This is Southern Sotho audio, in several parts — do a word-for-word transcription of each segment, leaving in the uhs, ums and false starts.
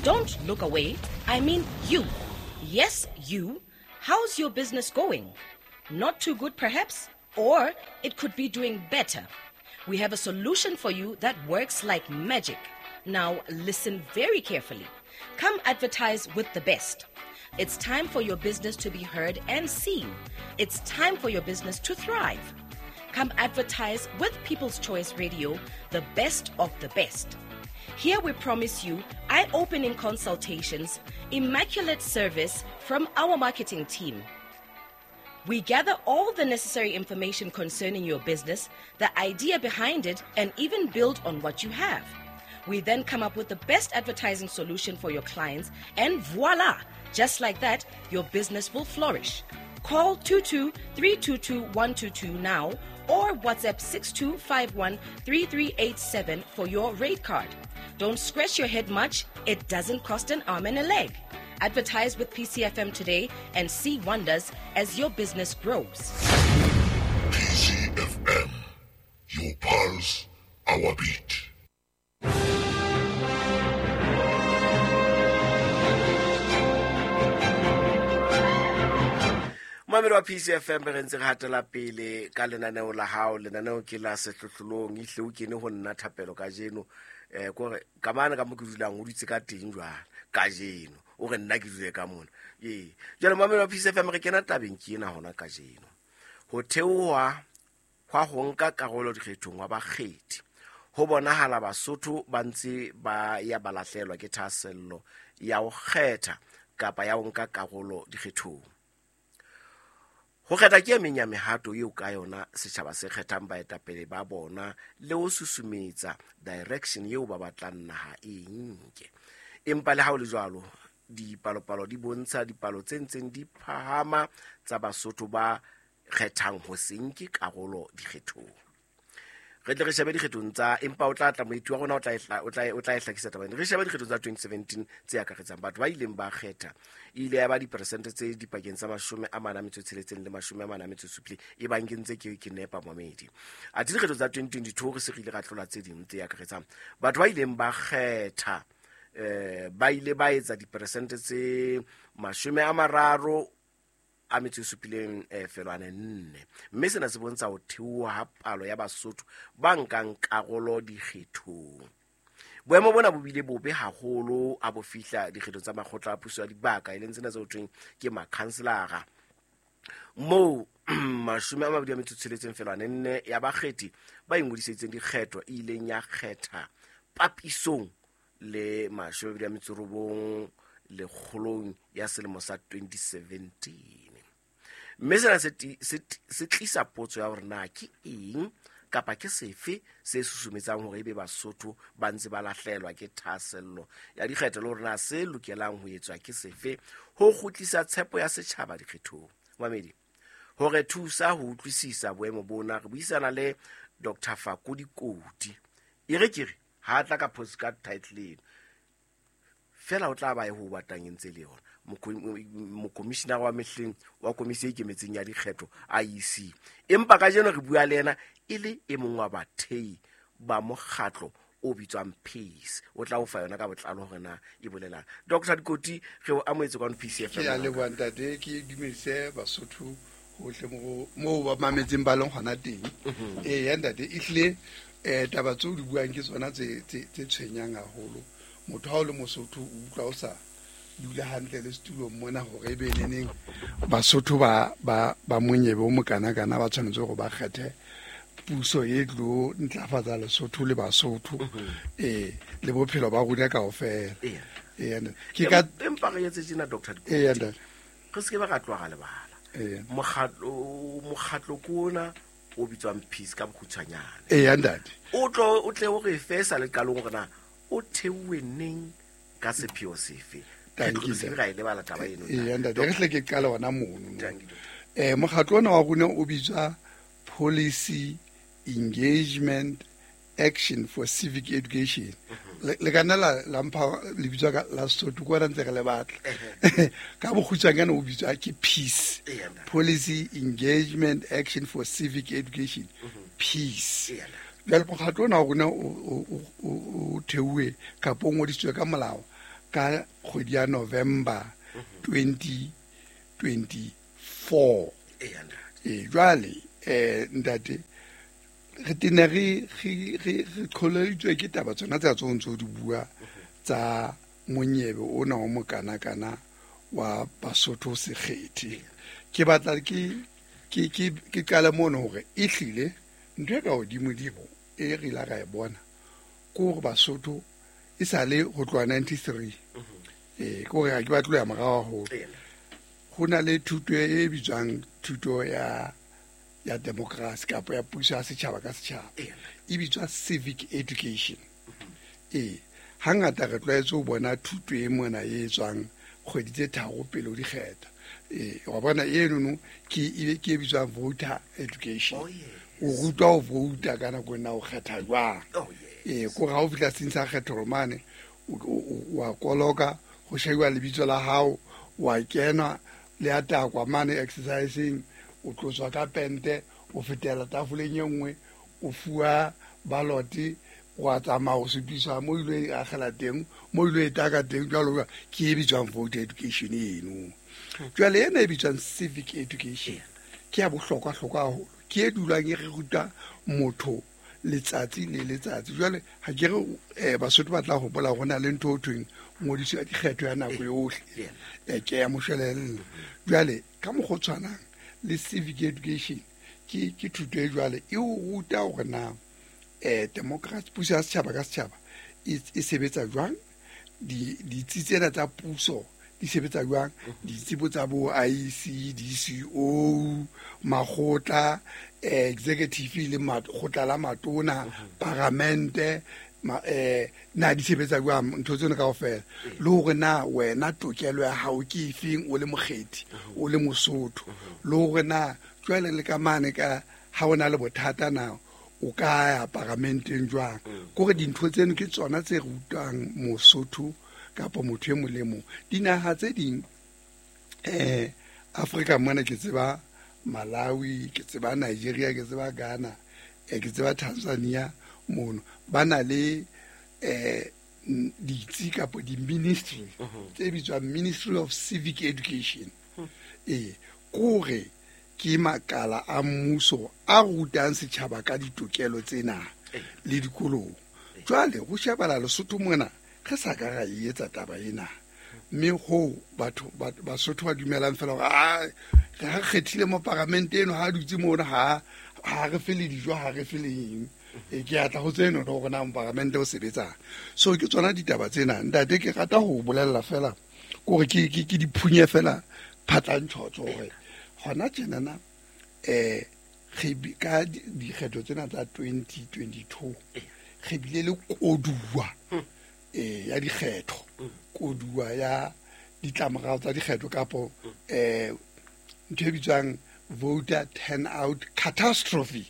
Don't look away. I mean you. Yes, you. How's your business going? Not too good, perhaps? Or it could be doing better. We have a solution for you that works like magic. Now, listen very carefully. Come advertise with the best. It's time for your business to be heard and seen. It's time for your business to thrive. Come advertise with People's Choice Radio, the best of the best. Here we promise you eye-opening consultations, immaculate service from our marketing team. We gather all the necessary information concerning your business, the idea behind it, and even build on what you have. We then come up with the best advertising solution for your clients, and voila! Just like that, your business will flourish. Call two two three two two one two two now or WhatsApp six two five one three three eight seven for your rate card. Don't scratch your head much. It doesn't cost an arm and a leg. Advertise with P C F M today and see wonders as your business grows. P C F M, your pulse, our beat. Mamelo wa P C F M re ntse re hatela pele ka lenaneo la hao, lenaneo ke la sehlohlolong, ehle o kene ho nna thapelo kajeno. Eh kore ka mane ka mo ke dulang o dutse ka teng jwale kajeno, o re nna ke dule ka mona. Ee, jwale mamelo wa P C F M re kena tabeng ke ena hona kajeno. Ho theoha hwa ho nka karolo dikgethong wa bakgethi. Ho bonahala Basotho ba ntse ba ya ba lahlelwa ke thahasello ya ho kgetha kapa ya ho nka karolo dikgethong. Ho kgetha ke e meng ya mehato eo ka yona setjhaba se kgethang baetapele ba bona le ho susumetsa direction eo ba batlang naha e nke. Empa le ha ho le jwalo, dipalopalo di bontsha dipalo tse ntseng di phahama tsa Basotho ba kgethang ho se nke karolo dikgethong. Re tle re shebe dikgethong tsa, empa o tla tla moeti wa rona o tla e hla-, o tla e, o tla e hlakisa taba ena. Re shebe dikgethong tsa twenty seventeen tse akaretsang batho ba ileng ba kgetha. E ile ya ba diperesente tse dipakeng tsa mashome a mane a metso e tsheletseng le mashome a mane a metso e supileng, e bang ke ntse ke, ke nepa momedi. Athe dikgetho tsa twenty twenty-two re se re ile ra tlola tse ding tse akaretsang batho ba ileng ba kgetha, eh, ba ile ba etsa diperesente tse mashome a mararo a metso e supileng, eh, felwane nne. Mme sena se bontsha ho theoha ha palo ya Basotho ba nkang karolo dikgethong. Boemo bona bo bile bobe haholo ha bo fihla dikgethong tsa makgotla a puso ya dibaka, e leng tsena tse ho thweng ke makhanselara, moo mashome a mabedi a metso e tsheletseng felwane nne ya bakgethi ba ingodisitseng dikgetho e ileng ya kgetha papisong le mashome a mabedi a metso e robong lekgolong ya selemo sa twenty seventeen. Mme sena se ti-, se ti-, se tlisa potso ya hore na ke eng kapa ke sefe se susumetsang hore ebe Basotho ba ntse ba lahlelwa ke thahasello ya dikgetho, le hore na se lokelang ho etswa ke sefe ho kgutlisa tshepo ya setjhaba dikgethong. Mamedi, hore thusa ho utlwisisa boemo bona, re buisana le Doctor Fako Dikoti. E re ke re ha tla ka postcard title eno fela o tla ba e ho batlang e ntse le yona. Mokomishinara wa mehleng wa komisi e ikemetseng ya dikgetho I E C. Empa kajeno re bua le yena e le e mong wa bathei ba mokgatlo o bitswang Peace. O tla o fa yona ka botlalo hore na e bolelang. Doctor Dikoti, re o amohetse kwano P C F M. Ke a leboha ntate, ke dumedise Basotho hohle mo, moo ba mametseng ba leng hona teng. Mhm. Ee, ya ntate, ehlile, eh, taba tseo di buang ke tsona tse, tse, tse tshwenyang haholo. Motho ha o le Mosotho o utlwa o sa dula hantle le setulong mona hore ebe neneng Basotho ba, ba, ba monyebe o mokanakana ba tshwanetse hore ba kgethe puso e tlo ntlafatsa Lesotho le Basotho, Mhm. eh, le bophelo ba rona kaofela. Eya. Eya, ntate. Ke ka Empa re etse tjena, Doctor Dikoti. Eya, ntate. Re se ke ba ra tloha ra lebala. Eya. Mokgatlo, mokgatlo ke ona o bitswang Peace ka bokgutshwanyane. Eya, ntate. O tlo, o tle o re fe sa le qalong hore na o theuwe neng ka sepheo sefe? Thank Re you, tlo se sir. ra e lebala taba eno, Eya, ntate. ntate, re hle ke qale hona mono, no. Thank you, doctor. Eh, mokgatlo ona wa rona o bitswa Policy Engagement Action for Civic Education. Mhm. Le, le ka nna la, la mpha lebitso ka la Sesotho, ke ona ntse re le batla. Ehe. Ka bokgutshwanyane o bitswa ke Peace. Eya, ntate. Policy Engagement Action for Civic Education. Mhm. Peace. Eya, ntate. Jwale mokgatlo ona wa rona o, o, o, o, o theuwe kapa o ngodisitswe ka molao ka kgwedi ya November twenty twenty-four. E jwale eh ntate re tene re re re qholeditswe ke taba tsona tsa tseo ntse di bua tsa monyebe ona o mokana kana wa Basotho sekgethe. Ke batla ke ke ke ke qala mono hore e hlile ntho e ka hodimo dimo e re la ra e bona ke hore Basotho e sale ho tloha ninety-three. Eh ke hore ha ke batle ya morao haholo. Ho na le thuto e bitswang thuto ya ya democracy kapa ya puso ya setjhaba ka setjhaba, e bitswa civic education. Eh hangata re tlwaetse ho bona thuto e mona e tswang kgwedi tse tharo pele ho dikgetha. Eh wa bona eno no ke e ke e bitswang voter education. O rutwa ho vouta ka nako ena o kgetha jwang. Eh ko ha o fihla seng sa kgetho mane o wa koloka ho shebiwa lebitso la hao, wa kena le atakwa mane exercising, o tlotswa ka pente, o fetela tafoleng e nngwe, o fuwa ballot, wa tsamaya o supiswa mo ile e akgela teng, mo ile e taka teng jwalo ke e bitswang voter education eno. Jwale ena e bitswang civic education ke ya bohlokwa hlokwa haholo, ke e dulang e re ruta motho letsatsi le letsatsi. Jwale ha ke re eh Basotho ba tla hopola ho na le ntho ho thweng ngodiso ya dikgetho ya nako yohle, eh ke ya moshwelella. Jwale ka mokgwa o tshwanang le civic education ke ke thuto e jwale e o ruta hore na eh democracy puso ya setjhaba ka setjhaba e sebetsa jwang, di ditsi tsena tsa puso di sebetsa jwang, ditsebo tsa bo I C, D C O, makgotla, executive le makgotla la matona, paramente, eh na di sebetsa jwang ntho tsena kaofela, le hore na wena tokelo ya hao ke efeng o le mokgethi, o le Mosotho, le hore na jwale le ka mane ka ha ona le bothata na o ka ya paramenteng jwang. Kore dintho tseno ke tsona tse rutwang Mosotho kapa motho e molemo. Dinaha tse ding eh Afrika mona ke tseba Malawi, ke tseba Nigeria, ke tseba Ghana, eh ke tseba Tanzania mono ba na le eh ditsi kapa di-ministry tse bitswang Ministry of Civic Education. Eh kore ke makala a mmuso a rutang setjhaba ka ditokelo tsena le dikolong. Jwale ho shebala Lesotho mona re sa ka ra e etsa taba ena, mme ho batho Basotho ba dumelang fela hore a re kgethile mo paramente eno ha dutse mona ha ha re fele dijo, ha re fele eng. E ke atla ho tseno hore na paramente o sebetsang. So ke tsona ditaba tsena ntate, ke rata ho bolella fela kore ke ke ke diphunye fela phatlantshotso hore hona tjenana eh re ka dikgetho tsena tsa twenty twenty-two re bile le koduwa eh ya dikgetho, koduwa ya ditlamorao tsa dikgetho kapo eh ntho e bitswang voter turnout catastrophe.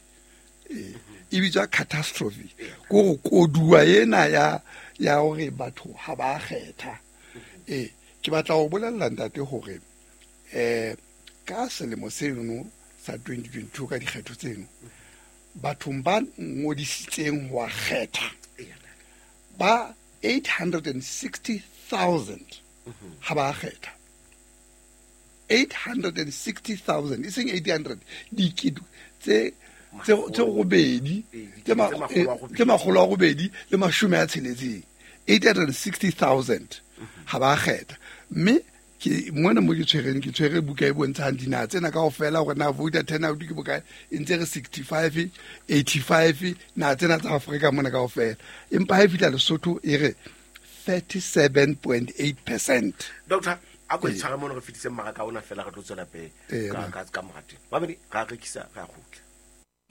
Eh e bitswa catastrophe ko koduwa ena ya ya hore batho ha ba kgetha. Eh ke batla ho bolella ntate hore eh ka selemo seno sa twenty twenty-two ka dikgetho tseno bathong ba ngodisitseng ho kgetha ba eight hundred sixty thousand ha ba kgetha. eight hundred sixty thousand e seng eight hundred dikete tse tse tse robedi tse makgolo a robedi le mashome a tsheletseng, eight hundred sixty thousand ha ba kgetha. Mme ke mona mo ke tshwereng ke tshwere buka e bontshang dinaha tsena kaofela hore na voter turnout ke bokae, e ntse re sixty-five, eighty-five naha tsena tsa Afrika mona kaofela, empa ha e fihla Lesotho e re thirty-seven point eight percent. Doctor a ko tshware mona re fetise mmaraka ona fela re tlo tswela pele ka ka ka morate. Babedi ra rekisa ra kgutla.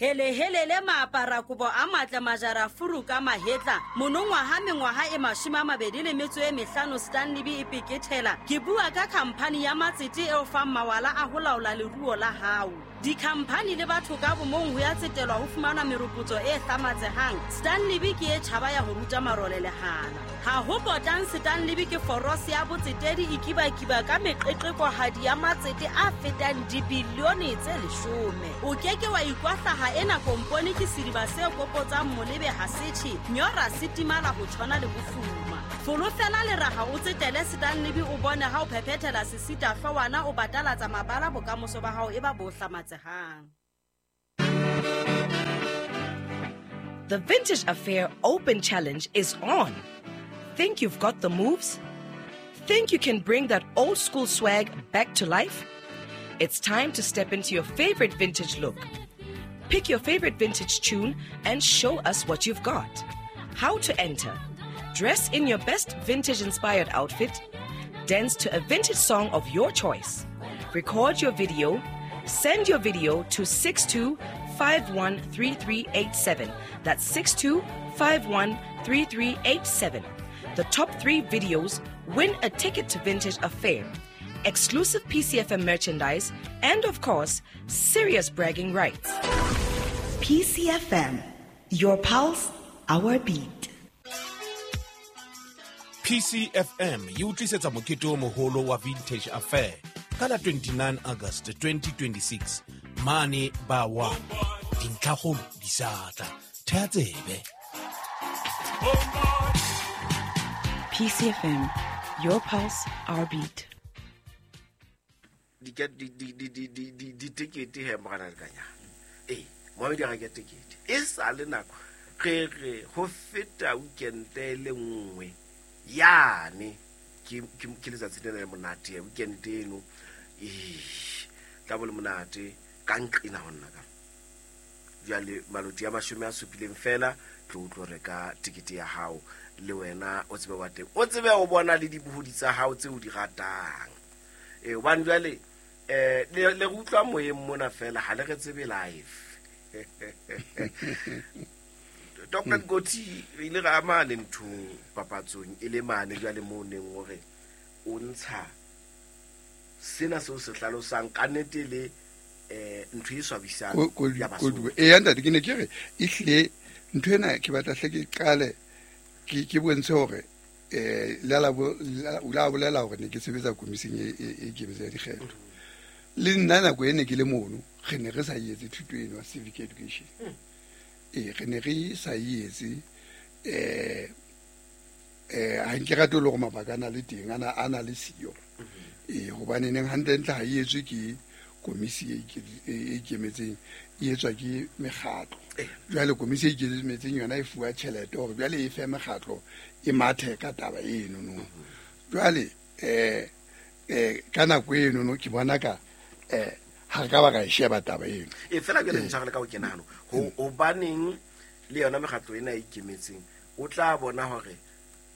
Hele hele le maapara kobo a matle majara furu ka mahetla monongwaha mengwaha e mashome a mabedi le metso e mehlano Stanley B e pekethela. Ke bua ka khamphani ya matsete eo fang mawala a ho laola leruo la hao. Dikhamphani le batho ka bomong ho ya tsetelwa ho fumana meropotso e hlamatsehang. Stanley B ke e tjhaba ya ho ruta marole lehala. Ha ho potang Stanley B ke forose ya botsetedi e kibakiba ka meqeqekohadi ya matsete a fetang dibilione tse leshome. O keke wa ikwahlaha ena kompone ke sediba se kopotsang molebe ha setjhe, nyora se timala ho tshwana le bofuma. Folofela leraha o tsetele Stanley o bone ha o phephetela sesita hloohwana o batalatsa mabala bokamoso ba hao e ba bo hlamatsehang. The Vintage Affair Open Challenge is on. Think you've got the moves? Think you can bring that old school swag back to life? It's time to step into your favorite vintage look. Pick your favorite vintage tune and show us what you've got. How to enter? Dress in your best vintage-inspired outfit. Dance to a vintage song of your choice. Record your video. Send your video to six two five one three three eight seven. That's six two five one three three eight seven. The top three videos win a ticket to Vintage Affair, exclusive P C F M merchandise, and of course, serious bragging rights. P C F M, your pulse, our beat. P C F M e o tlisetsa mokete o moholo wa Vintage Affair ka la twenty-nine August twenty twenty-six mane ba wa dintlhakgolo di sa tla thea tsebe. P C F M, your pulse, our beat. Di di di di di di di di tekete he morana le kanya. Eh, moamedi ga ke tekete. E sa le nako re re ho feta weekend le nngwe. Yane ke ke letsatsi lena le monate weekend eno. Eh, tla bo le monate ka nqina honna ka. Jwale maloti a mashome a supileng fela tlo tlo reka tekete ya hao le wena o tsebe wa teng. O tsebe o bona le dibohodi tsa hao tse o di ratang. Eh hobane jwale eh le le utlwa moyeng mona fela ha le re tsebe live. Doctor Goti re ile ra amane nthong papatsong e le mane jwale mo neng hore o ntsha sena seo se hlalosang ka nnete le eh ntho e swabisang ya Basotho. Eh ntate ke ne ke re ehlile ntho ena ke batla hle ke qale ke ke bontshe hore eh la la la bolela hore ne ke sebetsa komising e e ikemetseng ya dikgetho. Le nna nako ene ke le mono re ne re sa etse thuto eno ya civic education. E re ne re sa etse eh eh ha nke rate le hore mabaka ana le teng ana ana le siyo. E hobane neng hantle ntle ha etswe ke komisi e ikemetseng e etswa ke mekgatlo. Jwale komisi e ikemetseng yona e fuwa tjhelete hore jwale e fe mekgatlo e mathe ka taba eno no. Jwale eh eh ka nako eno no ke bona ka eh ha ka ba ka sheba taba eno. E fela ke le ntshwarele ka ho kena hano. Ho hobaneng le yona mekgatlo ena e ikemetseng o tla bona hore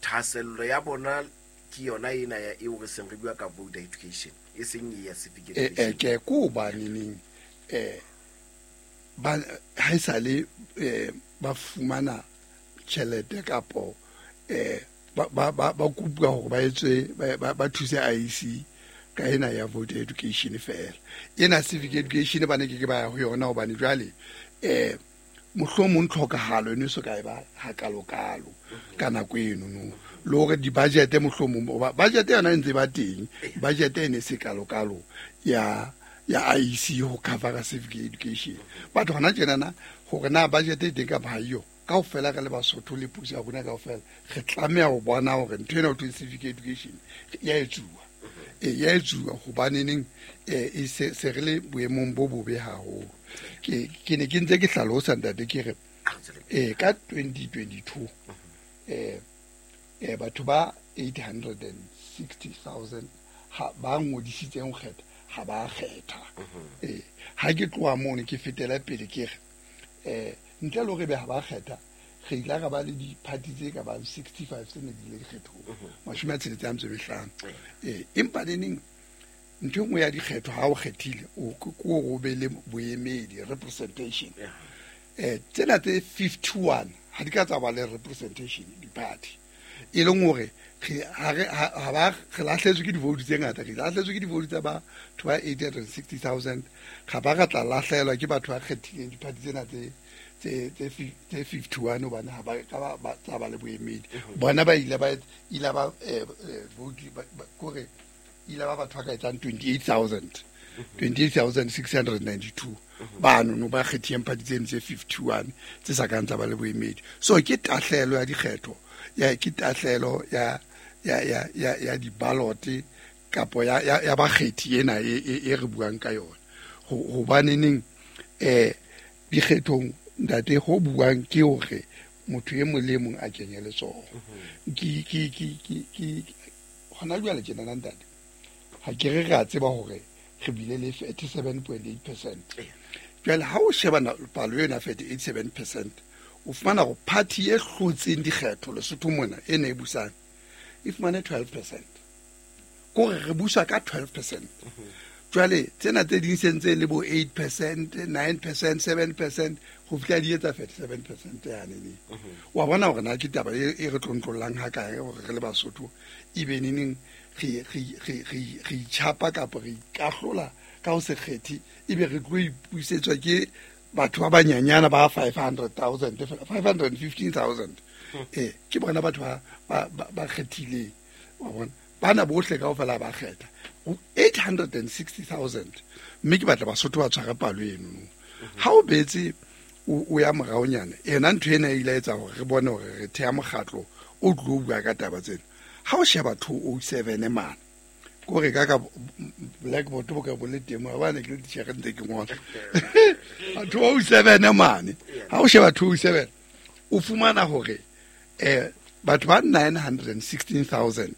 thahasello ya bona ke yona ena ya eo re seng re bua ka voter education e seng ya civic education. Eh ke ko baneng eh ba ha sale ba fumana tjhelete kapo eh ba ba ba kopuwa hore ba etswe ba thuse I E C ka ena ya voter education fela. Ena civic education ba ne ke ke ba ya ho yona hobane jwale eh mohlomong tlhokahalo eno so ka e ba ha kalokalo ka nako eno no le hore di budget mohlomong budget yona e ntse ba teng budget ene se kalokalo ya ya I E C ho cover civic education. But hona tjena na hore na budget e teng kapa ha eyo kaofela re le Basotho le puso ya rona kaofela re tlameha ho bona hore ntho ena ho thweng civic education ya etsuwa. E ya etsuwa hobane neng e se se re le boemong bo bobe haholo. Ke ke ne ke ntse ke hlalosa ntate ke re eh ka twenty twenty-two eh eh batho ba eight hundred sixty thousand ha ba ngodisitseng ho kgetha ha ba kgetha. Eh ha ke tloha mono ke fetela pele ke re eh ntle le hore be ha ba kgetha re ile ra ba le di-party tse ka bang sixty-five tse ne di le dikgethong mashome a tsheletse a metso e mehlano. Eh empa le neng ntho e nngwe ya dikgetho ha o kgethile o ke o be le boemedi representation. Eh tsena tse fifty-one ha di ka tsa ba le representation di-party e leng hore ha re ha ba re lahletswe ke di-vote tse ngata re lahletswe ke di-vote tsa batho ba eight hundred sixty thousand ga ba ra tla lahlelwa ke batho ba kgethileng di-party tsena tse tse tse fifty-one hobane ha ba ka ba tsa ba le boemedi bona ba ile ba ile ba vote kore ile ba batho ba ka etsang twenty-eight thousand twenty-eight thousand six hundred ninety-two bano no ba kgethileng party tseno tse fifty-one tse sa kang tsa ba le boemedi. So ke tahlelo ya dikgetho ya ke tahlelo ya ya ya ya ya di-ballot kapo ya ya, ya bakgethi ena e, e, e re buang ka yona. Hobaneneng eh dikgethong ntate ho buang ke hore motho e mong le mong a kenye letsoho. Ke ke ke ke ke hona jwale tjena na ntate ha ke re re a tseba hore re bile le thirty-seven point eight percent. Jwale ha o sheba palo ena thirty-seven percent o fumana hore party e hlotseng dikgetho Lesotho mona e ne e busang e fumane twelve percent. Kore re busa ka twelve percent. Jwale tsena tse ding se ntse le bo eight percent, nine percent, seven percent ho fihla di etsa thirty-seven percent yane ne. Wa bona hore na ke taba e re tlontlollang ha kae hore re le Basotho e be neneng re re re re re itjhapa kapa re ikahlola ka ho se kgethe ebe re tlo ipusetswa ke batho ba banyanyana ba five hundred thousand, five hundred fifteen thousand. Eh ke bona batho ba ba ba kgethileng. Wa bona bana bohle kaofela ba kgetha eight hundred sixty thousand mme ke batla Basotho ba tshware palo eno. Ha o betse o ya moraonyana ena ntho ena e ile etsa hore re bone hore re theha mokgatlo o tlo bua ka taba tsena. Ha o sheba two oh seven mane kore ka ka blackboard bo ka bo le teng mo bana ke le titjhere ntse ke ngola two oh seven mane. Ha o sheba two oh seven o fumana hore eh batho ba nine hundred sixteen thousand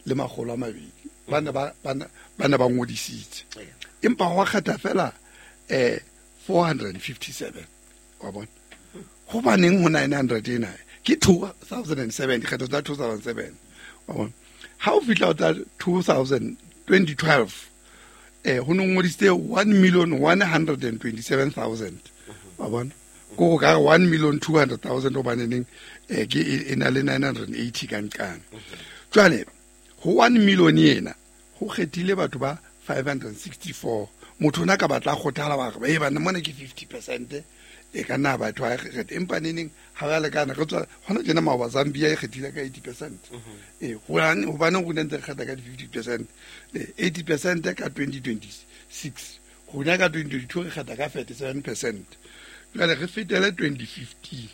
le makgolo a mabedi bana ba bana bana ba ngodisitse empa ho kgetha fela eh four hundred fifty-seven wa bona. Hobaneng ho nine hundred ena ke two thousand seven dikgetho tsa two thousand seven wa bona. Ha o fihla tsa two thousand twenty twelve eh ho no ngodisitse one million one hundred twenty-seven thousand wa bona. Ko ka one million two hundred thousand hobaneng eh ke e na le nine hundred eighty ka nqane. Jwale ho one million ena ho kgethile batho ba five hundred sixty-four. Motho ona ka batla kgothala ba re e bana mona ke fifty percent e ka nna batho ba kgetha empa neneng ha ba lekana re tswa hona tjena maoba Zambia e kgethile ka eighty percent. Eh hobane hobane rona ntse re kgetha ka fifty percent, eighty percent ka twenty twenty-six rona ka twenty twenty-two re kgetha ka thirty-seven percent. Jwale re fetele twenty fifteen.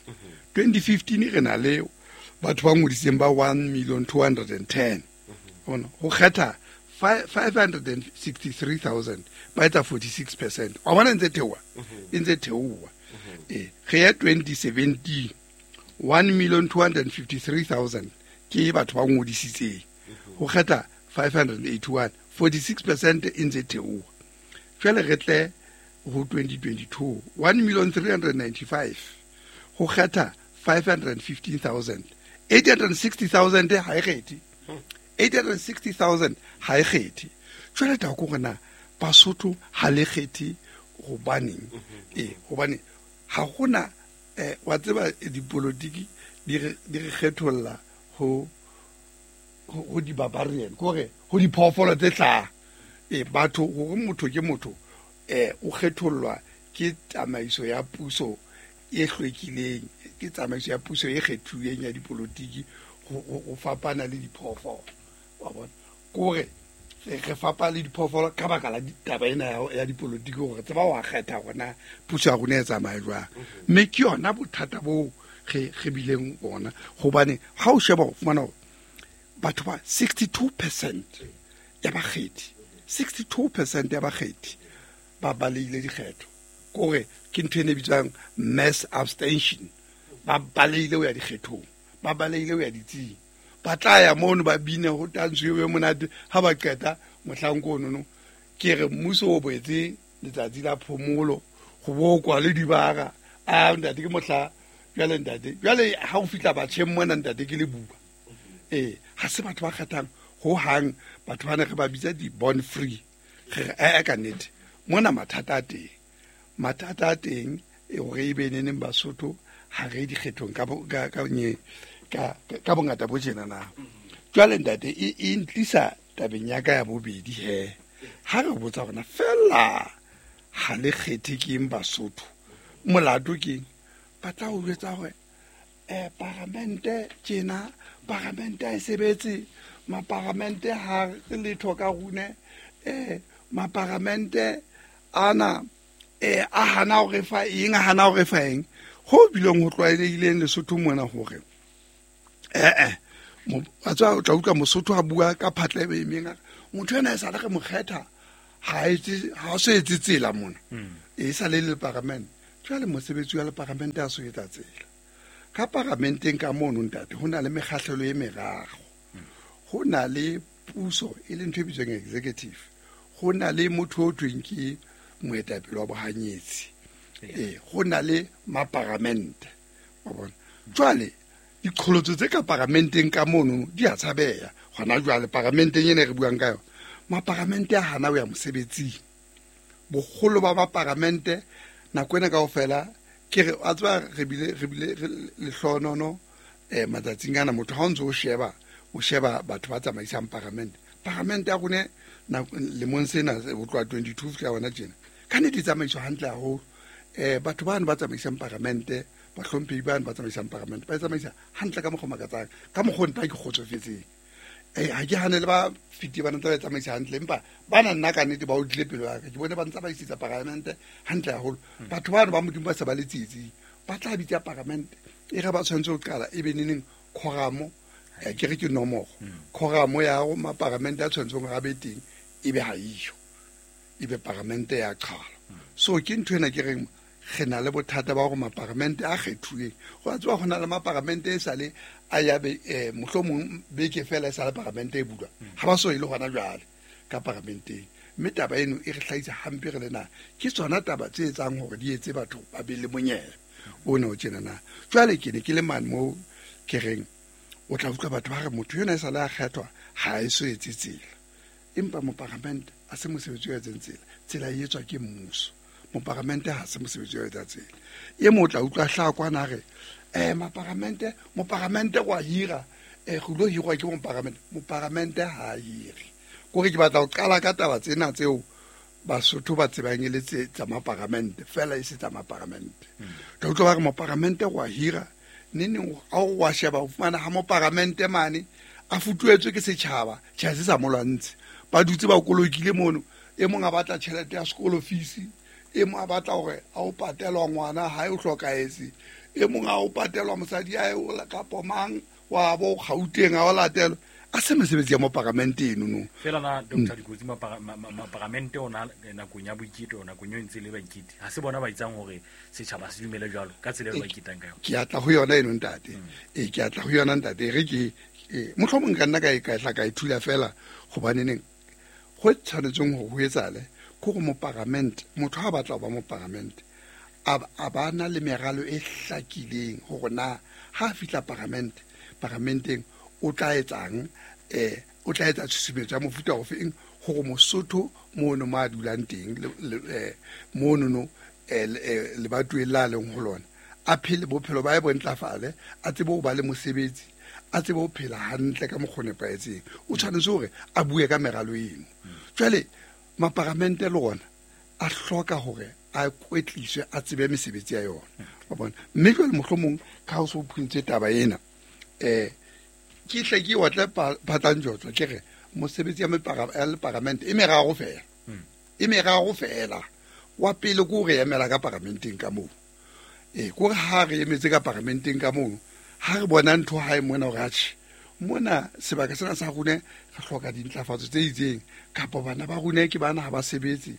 twenty fifteen re na le batho ba ngodisitseng ba one million two hundred ten. Bona ho kgetha five hundred sixty-three thousand ba etsa forty-six percent. Wa bona ntse theoha e ntse theoha. Eh re ya twenty seventeen one million two hundred fifty-three thousand ke batho ba ngodisitseng ho kgetha five hundred eighty-one, forty-six percent e ntse theoha. Jwale re tle ho twenty twenty-two one million three hundred ninety-five ho kgetha five hundred fifteen thousand, eight hundred sixty thousand ha e kgethe eight hundred sixty thousand ha e kgethe. Jwale taba ke hore na Basotho ha le kgethe hobaneng? Eh hobane ha hona eh wa tseba dipolotiki di re di re kgetholla ho ho di barbarian kore ho diphoofolo tse hlaha. Eh batho hore motho ke motho eh o kgethollwa ke tsamaiso ya puso e hlwekileng, ke tsamaiso ya puso e kgethuweng ya dipolotiki ho fapana le diphoofolo. Wa bona kore re fapana le diphoofolo ka baka la taba ena ya dipolotiki hore tseba wa kgetha hore puso ya rona e tsamaye jwang. Mme ke yona bothata bo re re bileng bona hobane ha o sheba o fumana hore batho ba sixty-two percent ya bakgethi, sixty-two percent ya bakgethi ba baleile dikgetho. Kore ke ntho e ne bitswang mass abstention. Ba baleile ho ya dikgethong, ba baleile ho ya ditsing. Ba tla ya mono ba bine ho tantswe e monate ha ba qeta mohlang kono no ke re mmuso o boetse letsatsi la phomolo ho bokwa le dibara. A ntate ke mohla jwale ntate jwale ha o fihla batjheng mona ntate ke le bua. Eh ha se batho ba kgethang ho hang, batho bana re ba bitsa di born free. Re re ka nnete mona mathata a teng, mathata a teng e hore e be neneng Basotho ha re dikgethong ka ka ka ka bongata bo tjena na. Jwale ntate e e ntlisa tabeng ya ka ya bobedi he. Ha re botsa hore na fela ha le kgethe ke eng Basotho, molato ke eng? Ba tla o jwetsa hore eh paramente tjena, paramente ha e sebetse, maparamente ha re letho ka rune, eh maparamente ana eh a hana hore fa eng, a hana hore fa eng. Ho bileng ho tlwaelehileng Lesotho mona hore Eh eh a tswa o tla utlwa Mosotho a bua ka phatla e emeng motho ena e sale re mo kgetha ha etse ha so etse tsela mona e sa le le parliament. Jwale mosebetsi wa le parliament a so etsa tsela ka paramenteng ka mono ntate ho na le mekgahlelo e meraro. Ho na le puso e leng ntho e bitswang executive, ho na le motho o thweng ke moetapele wa bohanyetsi, eh ho na le maparamente wa bona. Jwale diqholotso tse ka paramenteng ka mono di a tshabeha hona jwale paramenteng ena re buang ka yona. Maparamente a hana ho ya mosebetsing, boholo ba maparamente nako ena kaofela ke re a tswa re bile re bile lehlonono eh matsatsing ana motho ha o ntso o sheba o sheba batho ba tsamaisang paramente. Paramente ya rona lemong sena ho tloha twenty-two fihla hona tjena ka nnete e tsamaiswa hantle haholo. Eh batho bano ba tsamaisang paramente, bahlomphehi bano ba tsamaisang paramente ba e tsamaisa hantle ka mokgwa o makatsang, ka mokgwa o nna ke kgotsofetseng. Eh ha ke hane le ba fiti ba ntse ba tsamaisa hantle, empa bana nna ka nnete ba o tlile pelo ya ka ke bone ba ntse ba isitsa paramente hantle haholo. Batho bano ba Modimo ba se ba le tsietsing ba tla bitsa paramente e re ba tshwanetse ho qala e be neneng khoramo ke re ke nomoro khoramo ya ho maparamente a tshwanetseng hore a be teng e be ha iyo e be paramente ya qhala. So ke ntho ena ke reng re na le bothata ba hore maparamente a kgethuweng go a tswa ho na le maparamente e sale a ya be mohlomong beke fela e sale paramente e bulwa ha ba so ile hona jwale ka paramenteng. Mme taba eno e re hlahisa hampe re le na ke tsona taba tse etsang hore di etse batho ba be le monyela o ne o tjena na. Jwale ke ne ke le mane moo ke reng o tla utlwa batho ba re motho yona e sale a kgethwa ha e so etse tsela, empa moparamente a se mosebetsi wa etseng tsela, tsela e etswa ke mmuso. Moparamente ha se mosebetsi wa etsa tsela. E mo tla utlwa hla kwana re eh maparamente moparamente wa hira eh go lo hirwa ke moparamente, moparamente ha hire. Kore ke batla ho qala ka taba tsena tseo Basotho ba tsebang e le tse tsa maparamente fela e se tsa maparamente. Tla utlwa ba re moparamente wa hira nene a o wa sheba o fumana ha moparamente mane a futuetswe ke setjhaba tjha se sa molwantse ba dutse ba kolokile mono e mong a batla tjhelete ya sekolo fees, e mong a batla hore a o patelwa ngwana ha e o hlokahetse, e mong a o patelwa mosadi ya o kapo mang wa bo Gauteng a o latelwa. A se mesebetsi ya moparamente eno no fela na Doctor Dikotsi maparamente ona nakong ya boiketo nakong eo ntse le baiketi ha se bona ba itsang hore setjhaba se dumele jwalo ka tsela eo ba iketang ka yona. Ke atla ho yona eno ntate, e ke atla ho yona ntate re ke mohlomong ka nna ka e ka tla ka ithula fela hobane neng ho tshwanetseng ho ho etsale ke hore moparamente motho ha batla ho ba moparamente a ba na le meralo e hlakileng hore na ha fihla paramente paramenteng o tla etsang eh o tla etsa tshusumetso ya mofuta ofeng hore Mosotho mono mo a dulang teng mono no lebatoweng la leng ho lona a phele bophelo ba e bo ntlafale, a tsebe ho ba le mosebetsi, a tsebe ho phela hantle ka mokgwa o nepahetseng. O tshwanetse hore a bue ka meralo eno. Jwale maparamente le ona a hloka hore a kwetliswe a tsebe mesebetsi ya yona wa bona. Mme jwale mohlomong ka ho so phuntse taba ena eh ke hle ke wa tla phatlang jotso ke re mosebetsi ya paramente e meraro fela e meraro fela. Wa pele ke hore emela ka paramenteng ka moo e ke hore ha re emetse ka paramenteng ka moo ha re bona ntho ha e mona hore atjhe mona sebaka sena sa rona re hloka dintlafatso tse itseng kapa bana ba rona ke bana ha ba sebetse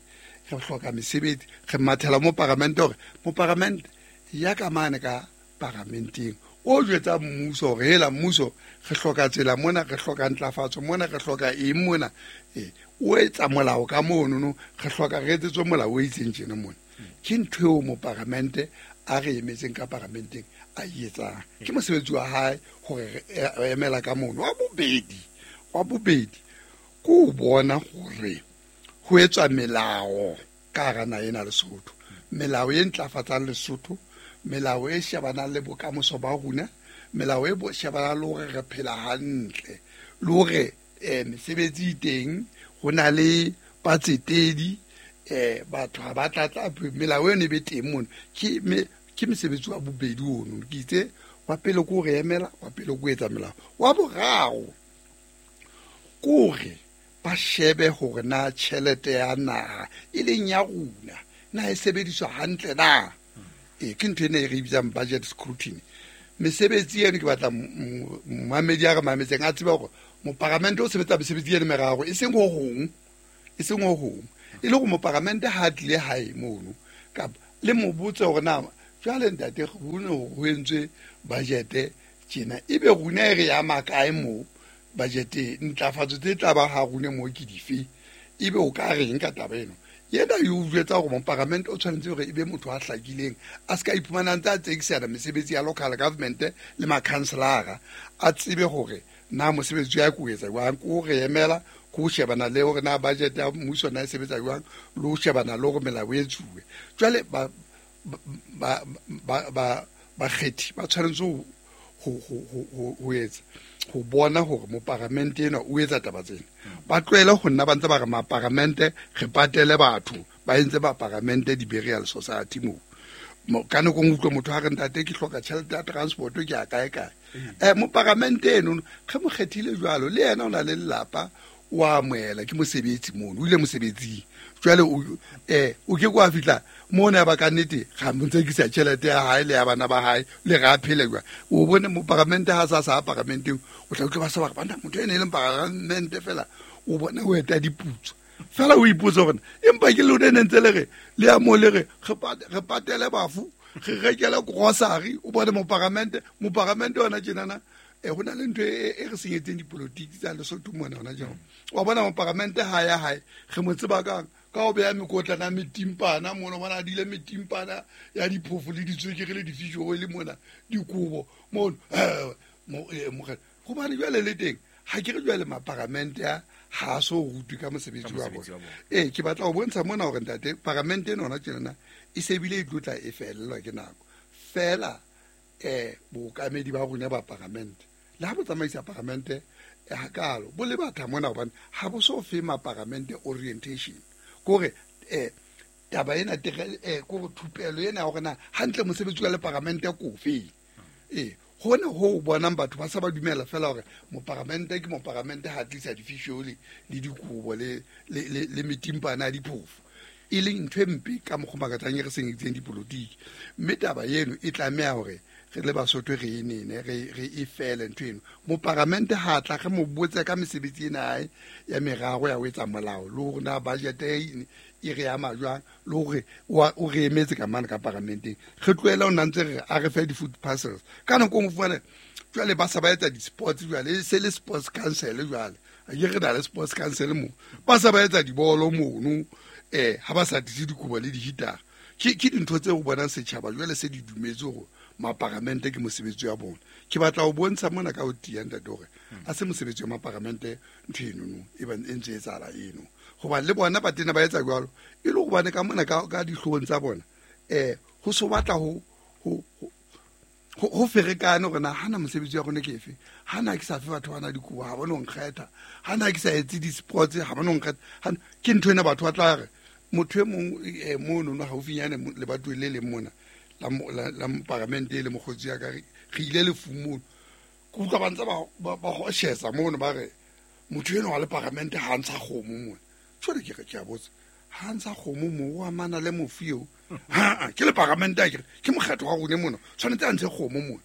re hloka mesebetsi re mathela mo paramente hore mo paramente ya ka mane ka paramenteng o jwetsa mmuso hore hela mmuso re hloka tsela mona re hloka ntlafatso mona re hloka eng mona e o etsa molao ka mono no re hloka re etsetswe molao o itseng tjena mona. Ke ntho eo mo paramente a re emetseng ka paramenteng a etsang ke mosebetsi wa hae hore re emela ka mono. Wa bobedi wa bobedi ke o bona hore ho etswa melao ka hara naha ena Lesotho, melao e ntlafatsang Lesotho, melao e shebanang le bokamoso ba rona, melao e shebanang le hore re phela hantle le hore eh mesebetsi e teng ho na le batsetedi eh batho ha ba tlatla melao eno e be teng mono. Ke ke mosebetsi wa bobedi ono ke itse wa pele ke hore emela, wa pele ke ho etsa melao, wa boraro ke hore ba shebe hore na tjhelete ya naha e leng ya rona na e sebediswa hantle na. E ke ntho ena e re bitsang budget scrutiny. Mesebetsi eno ke batla mmamedi a re mametseng a tsebe hore moparamente o sebetsa mesebetsi eno meraro e seng ho hong e seng ho hong e le hore moparamente ha a tlile hae mono kapa le mo botse hore na jwale ntate ho ne ho entswe budget tjena ebe rona e re ya makae mo budget ntlafatso tse tla ba ha rona mo ke dife ebe o ka reng ka taba eno yena yo jwetsa hore moparamente o tshwanetse hore ebe motho a hlakileng a ska iphumana ntse a tsekisana mesebetsi ya local government le makhanselara a tsebe hore na mosebetsi ya ko etsa jwang ko re emela ko shebana le hore na budget ya mmuso na e sebetsa jwang le ho shebana le hore melao e etsuwe jwale ba ba ba ba bakgethi ba tshwanetse ho ho ho ho etsa ho bona hore moparamente ena o etsa taba tsena ba tlohele ho nna ba ntse ba re maparamente re patele batho ba entse ba paramente di-burial society moo ka nako nngwe utlwe motho a re ntate ke hloka tjhelete ya transport ke ya kae kae eh moparamente eno ge mo kgethile jwalo le yena o na le lelapa o amohela ke mosebetsi mono o ile mosebetsing jwale o eh o ke kwa fihla mona ba ka nnete ga mo ntsekisa tjhelete ya hae le ya bana ba hae le ga phele jwa o bone moparamente ha sa sa paramenteng o tla utlwa ba sa ba re bana motho ene e leng paramente fela o bone o eta diputso fela o ipotsa hore empa ke lona ne ntse le re le ya mo le re re patele bafu re rekele grocery o bone moparamente moparamente ona tjenana e hona le ntho e re senyetseng dipolotiki tsa Lesotho mona hona jwang wa bona moparamente ha ya hae re mo tseba kang ka o beya mekotlana metimpana mona bona a dile metimpana ya diphofo le ditswekere le difish oil mona dikobo mono gobane jwale le teng ha ke re jwale maparamente a ha so rutwe ka mosebetsi wa bona ee ke batla ho bontsha mona hore ntate paramente ena hona tjenana e sebile e tlotla e fellwa ke nako fela eh bookamedi ba rona ba paramente le ha bo tsamaisa paramente hakalo bo le batha mona hobane ha bo so fe maparamente orientation kore eh taba ena eh kore thupelo ena hore na hantle mosebetsi wa le paramente ko fe eh hona ho bonang batho ba sa ba dumela fela hore moparamente ke moparamente ha tlisa difish oil le dikobo le le le metimpana ya diphofo e leng ntho e mpe ka mokgwa makatsang e re senyeditseng dipolotiki mme taba eno e tlameha hore re le Basotho re e nene re re e fele ntho eno moparamente ha tla re mo botse ka mesebetsi ena hae ya meraro ya ho etsa molao le hore na budget e e re ama jwang le hore o re emetse ka mane ka paramenteng re tlohela o ntse re a re fe di-food parcels ka nako nngwe fumane jwale ba sa ba etsa di-sports jwale e se le sports council jwale a ke re na le sports council mo ba sa ba etsa dibolo mono eh ha ba sa tlise dikobo le dihitara ke ke dintho tse o bonang setjhaba jwale se di dumetse hore maparamente ke mosebetsi wa bona ke batla ho bontsha mona ka ho tiya ntate hore a se mosebetsi wa maparamente ntho eno no e ba e ntse e etsahala eno hoba le bona ba tena ba etsa jwalo e le hobane ka mona ka ka dihloohong tsa bona eh ho so batla ho ho ho ferekane hore na hana mosebetsi wa rona ke efe hana ke sa fe batho bana dikobo ha bona ho nkgetha hana ke sa etse di-sports ha bona ho nkgetha ke ntho ena batho ba tla re motho e mong mono no haufinyane le batho le leng mona la la paramente le mokgotsi ya ka re ile lefung mono ke utlwa ba ntse ba ba hoshesa mono ba re motho eno wa le paramente ha ntsha kgomo mona jwale ke re ke a botsa ha ntsha kgomo mo o amana le mofu eo ha ke le paramente a ke ke mokgatlo wa rona mona tshwanetse a ntshe kgomo mona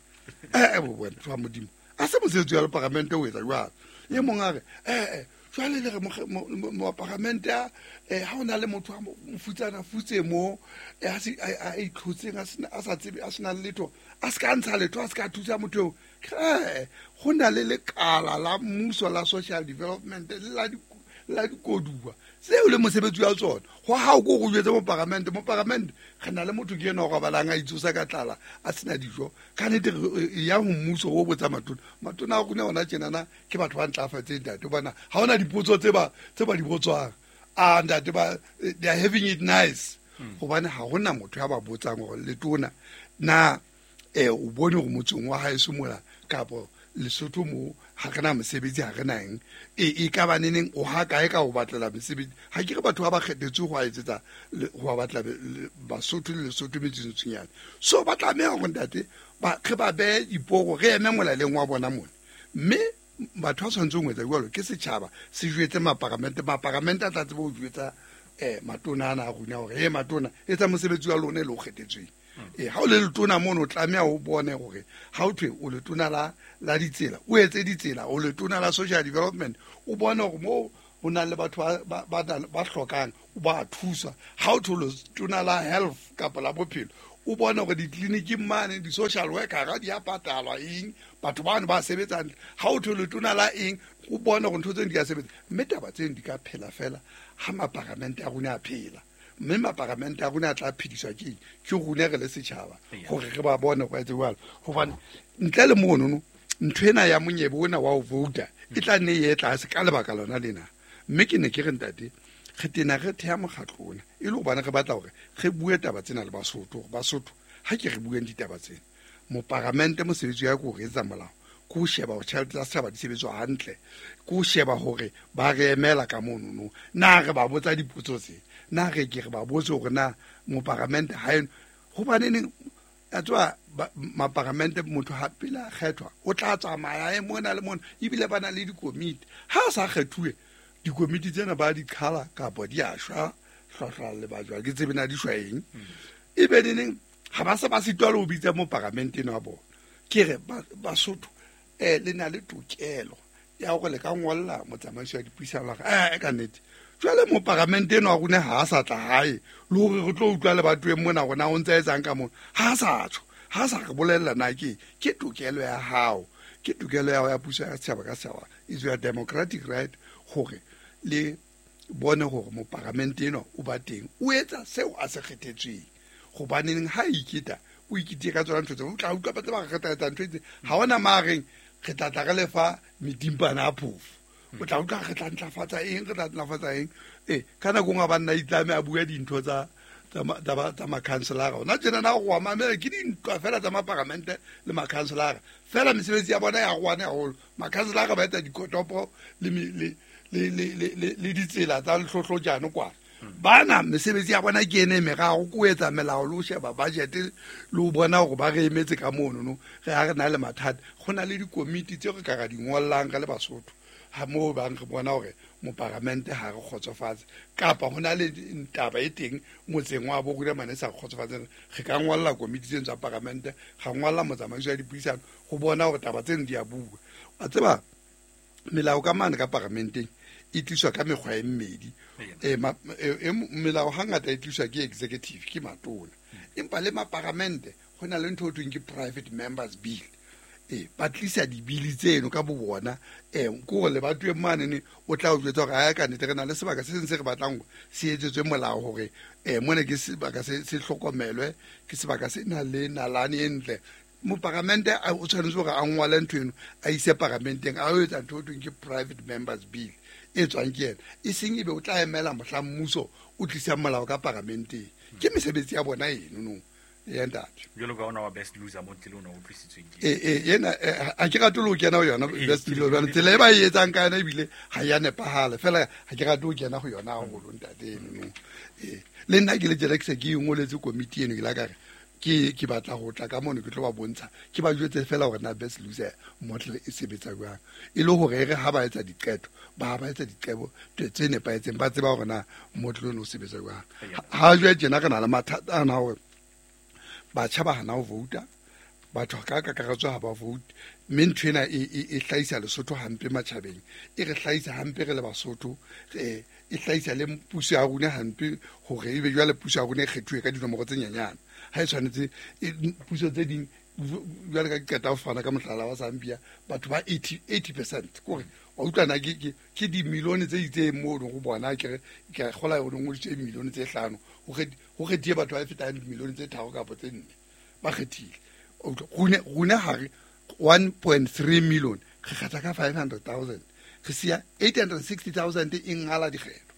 eh bo bona tswa modimo a se mosebetsi wa le paramente o etsa jwalo e mong a re eh jwale le re mo paramente a ha ona le motho a mofutsana futse mo a se a itlhotseng a sena a sa tsebe a sena letho a se ka ntsha letho a se ka thusa motho eo go na le lekala la mmuso la social development le la la dikoduwa seo le mosebetsi wa tsona go ha o ko go jwetse mo paramente mo paramente re na le motho ke ena o robalang a itsosa ka tlala a sena dijo ka nnete ya ho mmuso o botsa matona matona a rona ona tjenana ke batho ba ntlafatseng ntate bona ha ona dipotso tse ba tse ba di botswang a ntate ba they are having it nice hobane ha hona motho ya ba botsang hore letona na eh o bone hore motseng wa hae mola kapo Lesotho mo ha re na mosebetsi ha re na eng e e ka ba neneng o ha kae ka ho batlela mesebetsi ha ke re batho ba ba kgethetswe ho a etsetsa ho ba batla Basotho le Lesotho metsintsinyana so ba tlameha hore ntate ba re ba behe diporo re eme molaleng wa bona mona mme batho ba tshwanetseng ho etsa jwalo ke setjhaba se jwetse maparamente maparamente a tla tsebe ho jwetsa eh matona ana a rona hore e matona etsa mosebetsi wa lona e le o kgethetsweng E ha o le letona mono o tlameha o bone hore ha o thwe o letona la la ditsela, o etse ditsela, o letona la social development, o bone hore mo ho na le batho ba ba ba hlokang o ba thusa. Ha o thwe letona la health kapa la bophelo, o bone hore ditleliniking mane di-social worker di a patalwa eng, batho bano ba sebetsang. Ha o thwe letona la eng, o bone hore ntho tseno di a sebetsa. Mme taba tseno di ka phela fela ha maparamente a rona a phela. Mme maparamente a rona a tla phediswa ke eng? Ke rona re le setjhaba hore re ba bone hore ba etse jwalo. Hobane ntle le monono, ntho ena ya monyebe ona wa ho vouta e tla nne e ye tlase ka lebaka lona lena. Mme ke ne ke re ntate, re tena re theha mokgatlo ona e le hobane re batla hore re bue taba tsena le Basotho, hore Basotho ha ke re bueng ditaba tsena. Moparamente mosebetsi wa ke ho re etsa molao, ke ho sheba hore tjhelete tsa setjhaba di sebetswa hantle, ke ho sheba hore ba re emela ka monono. Na re ba botsa dipotso tse, na re ke re ba botse hore na moparamente ha eno, hobaneneng a tswa maparamente motho ha pele a kgethwa o tla tsamaya e mona le mona, ebile ba na le dikomiti. Ha a sa kgethuwe, dikomiti tsena ba di qhala kapa di a shwa hlwahlwa le ba jwa, ke tsebe na di shwa eng. Ebe neneng ha ba se ba sitwa le ho bitsa moparamente eno wa bona. Ke re Basotho eh le na le tokelo ya hore le ka ngolla motsamaisi wa dipuisano la re eh ka nnete jwale moparamente eno wa rona ha a sa tla hae le hore re tlo utlwa le batho mona rona o ntse a etsang ka mona, ha a sa tjho, ha a sa re bolella na ke ke tokelo ya hao, ke tokelo ya hao ya puso ya setjhaba ka setjhaba, is your democratic right hore le bone hore moparamente eno o ba teng, o etsa seo a se kgethetsweng. Hobaneng ha iketa o ikitse ka tsona ntho tseo, o tla utlwa ba tse ba re etsa ntho tse ha ona mareng re tla tla re lefa medimpana a phofo, o tla utlwa re tla ntlafatsa eng, re tla ntlafatsa eng. Eh ka nako nngwe ba nna itlame a bua dintho tsa tsa tsa makhanselara. Ona tjena na go mamela ke dintwa fela tsa maparamente le makhanselara fela, mesebetsi ya bona ya rwana haholo. Makhanselara ba etsa dikotopo le le le le le ditsela tsa lehlohlojane kwa. Bana mesebetsi ya bona ke ene meraro, ko etsa melao le ho sheba budget le ho bona hore ba re emetse ka mono no. Re ha re na le mathata, go na le dikomiti tse re ka ra di ngollang ka le Basotho ha moo bang re bona hore moparamente ha re kgotsofatse, kapa ho na le taba e teng motseng wa bo rona mane sa kgotsofatseng, re ka ngolla komiti tseno tsa paramente, ra ngolla motsamaisi wa dipuisano ho bona hore taba tseno di a bua. Wa tseba melao ka mane ka paramenteng e tliswa ka mekgwa e mmedi. E melao hangata e tliswa ke executive, ke matona, empa le maparamente ho na le ntho e thweng ke private members bill. E ba tlisa dibili tseno ka bo bona, eh ke hore le batho e mane ne o tla o jwetsa hore ha ka nnete re na le sebaka se seng se re batlang hore se etsetswe molao hore eh mona ke sebaka se se hlokomelwe, ke sebaka se nang le nalane e ntle. Moparamente o tshwanetse hore a ngwale ntho eno a ise paramenteng, a o etsa ntho e thweng ke private members bill e tswang ke yena, e seng ebe o tla emela mohla mmuso o tlisang molao ka paramenteng. Ke mesebetsi ya bona eno no ya ntate. Jwalo ka ona wa best loser mo tlile ona o utlwisitsweng ke e e yena ha ke rate ho kena ho yona best loser, hobane tsela e ba e etsang ka yona ebile ha ya nepahala fela, ha ke rate ho kena ho yona haholo ntate eno no. E le nna ke le tjena ke se ke ingoletse komiti eno, ke la ka re ke ke batla ho tla ka mono ke tlo ba bontsha, ke ba jwetse fela hore na best loser model e sebetsa jwang, e le hore re ha ba etsa diqeto ba ba etsa diqebo tse nepahetseng, ba tseba hore na model ono o sebetsa jwang. Ha jwale tjena re na le mathata ana hore batjha ba hana ho vouta, batho ka kakaretso ha ba vote, mme ntho ena e e hlahisa Lesotho hampe matjhabeng, e re hlahisa hampe re le Basotho, e hlahisa le puso ya rona hampe hore ebe jwale puso ya rona e kgethuwe ka dinomoro tse nyenyane. Ha e tshwanetse puso tse ding jwale ka qeta ho fana ka mohlala wa Zambia, batho ba eighty percent kore wa utlwa na ke ke dimilione tse itseng moo go bona ke re ke kgola yone ngodisitswe dimilione tse hlano, ho kgethiwe batho ba fetang dimilione tse tharo kapa tse nne ba kgethile. Rona rona ha re one point three million re kgetha ka five hundred thousand, re siya eight hundred sixty thousand e ngala dikgetho.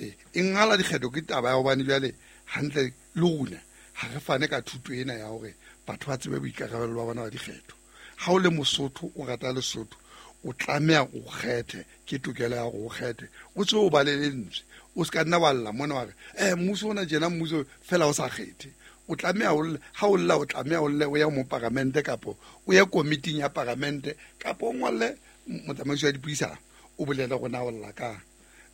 E e ngala dikgetho ke taba ya hobane jwale hantle le rona ha re fane ka thuto ena ya hore batho ba tsebe boikarabelo ba bona ba dikgetho. Ha o le Mosotho o rata Lesotho, o tlameha o kgethe, ke tokelo ya hore o kgethe, o tsebe o bale lentswe, o se ka nna wa lla mona wa re eh mmuso ona tjena mmuso fela o sa kgethe. O tlameha o ha o lla o tlameha o lle o ya mo paramente kapo o ye komiting ya paramente kapo o ngolle motsamaisi wa dipuisano o bolele hore na o lla kang.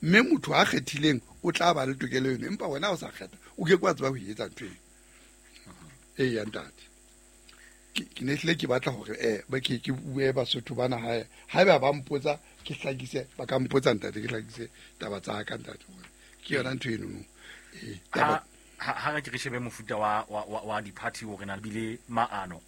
Mme motho a kgethileng o tla ba le tokelo eno, empa wena o sa kgetha o ke ke wa tseba ho etsa ntho eno. Ee ya ntate, ke ke ne hlile ke batla hore eh ba ke ke bue Basotho bana hae, haeba ba mpotsa ke hlakise, ba ka mpotsa ntate, ke hlakise taba tsa ka ntate, hore ke yona ntho enono. Ee, taba ha ha ha re ke re shebe mofuta wa wa wa, wa di-party hore na bile maano.